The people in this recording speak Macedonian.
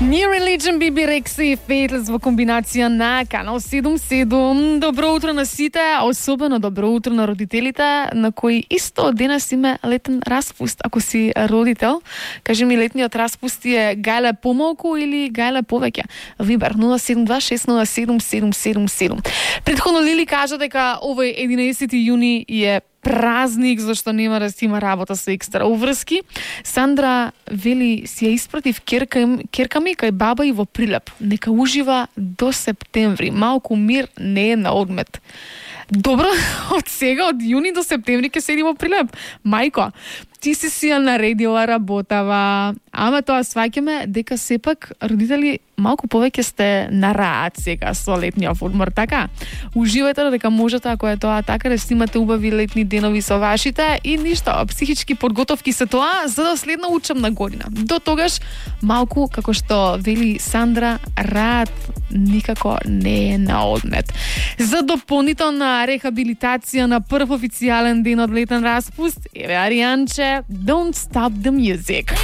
New Religion, Bibi Rexha и Faithless во комбинација на Канал 77. Добро утро на сите, а особено добро утро на родителите, на кои исто денес има летен распуст. Ако си родител, кажи ми, летниот распуст е гајле помалку или гајле повеќе? Вибер 072-607-777. Претходно Лили кажа дека овој 11 јуни е празник, зашто нема да си има работа со екстра уврски. Сандра вели си ја испратив керка ми кај баба и во Прилеп. Нека ужива до септември. Малку мир не е на одмет. Добро, од сега, од јуни до септември ќе седи во Прилеп. Мајко, ти си ја наредила работава, ама тоа сваќаме дека сепак родители малку повеќе сте на раат сега со летниот одмор, така? Уживајте дека можете, ако е тоа така, да снимате убави летни денови со вашите и ништо, психички подготовки се тоа за да следна учебна година. До тогаш малку, како што вели Сандра, раат никако не е на одмет. За дополнителна рехабилитација на прв официјален ден од летен распуст, еве Аријанче, Don't Stop the Music.